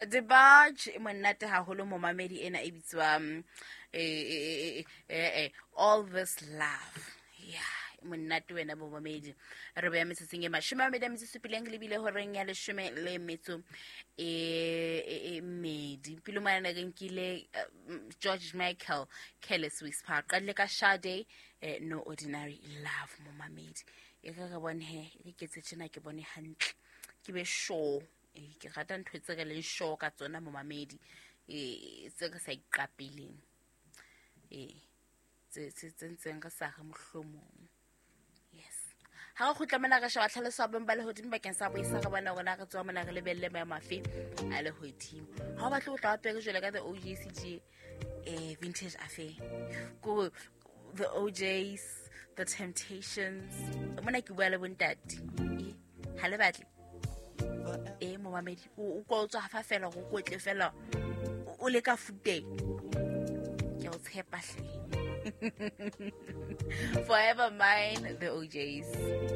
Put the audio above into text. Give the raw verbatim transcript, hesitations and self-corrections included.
DeBarge e monate haholo momamedi ena e bitswang eh, eh, eh, eh, all this love yeah e monate wena momamedi re beya metsotsong e mashome a mabedi a metso e supileng lebile horeng ya leshome le metso e e- e mmedi pele mane re nkile eh, mm, george michael careless whisper qadile ka Sade eh, no ordinary love momamedi e re re bone he e re ke etse tjena ke bone hantle ke be sure Eh, ke rata ntho tse re leng sure ka tsona momamedi eh tse re sa iqapeleng ee tse tse tse ntseng re sa re mohlomong yes ha re kgutla mona re sheba tlhaloso ya bong ba lehodimo bakeng sa boisa re bona rona re tswa mona re lebelle maemo afe a lehodimo ha o batle ho tla wa pere jwale ka the ojcg eh vintage affair ko the ojs the temptations mona ke bua le bontate Eh, ha le batle e momamedi o o kwa o tswa fa fela go kotle fela o- o le ka futeng ke o tshepa hle forever mine the ojs